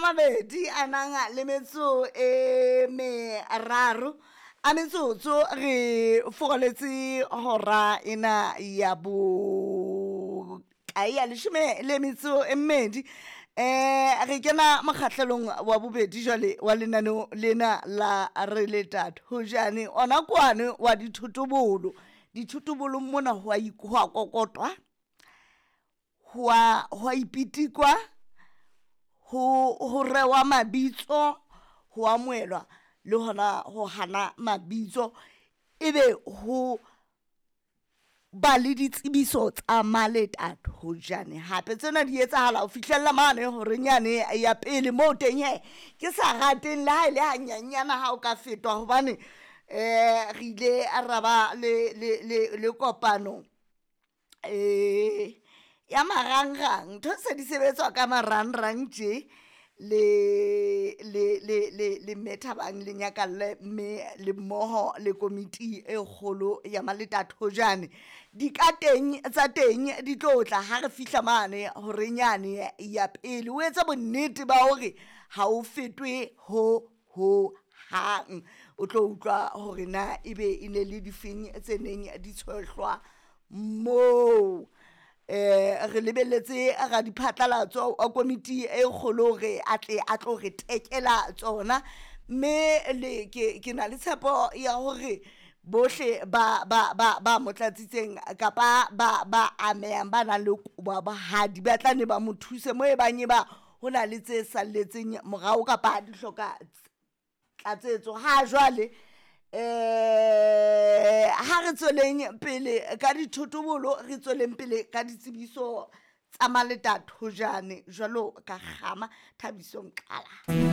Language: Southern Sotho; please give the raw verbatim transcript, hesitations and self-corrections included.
mabedi a nang le metso e meraro a metsotso re foroletse hora ena ya bo kae ya leshome le metso e mmedi. Um re kena mokgahlelong wa bobedi jwale wa lenaneo lena la Re Le Thojane, ona kwane wa dithotobolo. Dithotobolong mona ho a ho a kokotwa, ho a ho a ipitikwa, ho ho rewa mabitso, ho amohelwa le hona ho hana mabitso, ebe ho ba le ditsebiso tsa maletathojane. Hape tsena di etsahala ho fihlella mane horeng yane ya pele moo teng he ke sa rateng le ha e le hanyenyana ha o ka fetwa, hobane um re ile ra ba le le le le kopano um ya marangrang. Ntho se di sebetswa ka marangrang tje le le le le le Mme Thabang le Nyakalle, mme le mmoho le komiti e kgolo ya Maletathojane. Di ka teng tsa teng di tlo tla ha re fihla mane horeng yane ya pele. O etse bonnete ba hore ha o fetwe ho ho hang, o tlo utlwa hore na ebe e ne le difeng tse neng di tshohlwa moo. Eh re lebelletse radiphatlalatso wa komiti e kgolo hore a tle a tlo re tekela tsona, mme le ke ke na le tshepo ya hore bohle ba ba ba ba mo tlatsitseng kapa ba ba amehang ba nang le kobo ya bohadi ba tla ne ba mo thuse mo e bang e ba ho na le tse salletseng morao kapa di hloka tlatsetso. Ha jwale eh ha re tsweleng pele ka dithotobolo, re tsweleng pele ka ditsebiso tsa Maletathojane jwalo ka kgama Thabiso Nkala.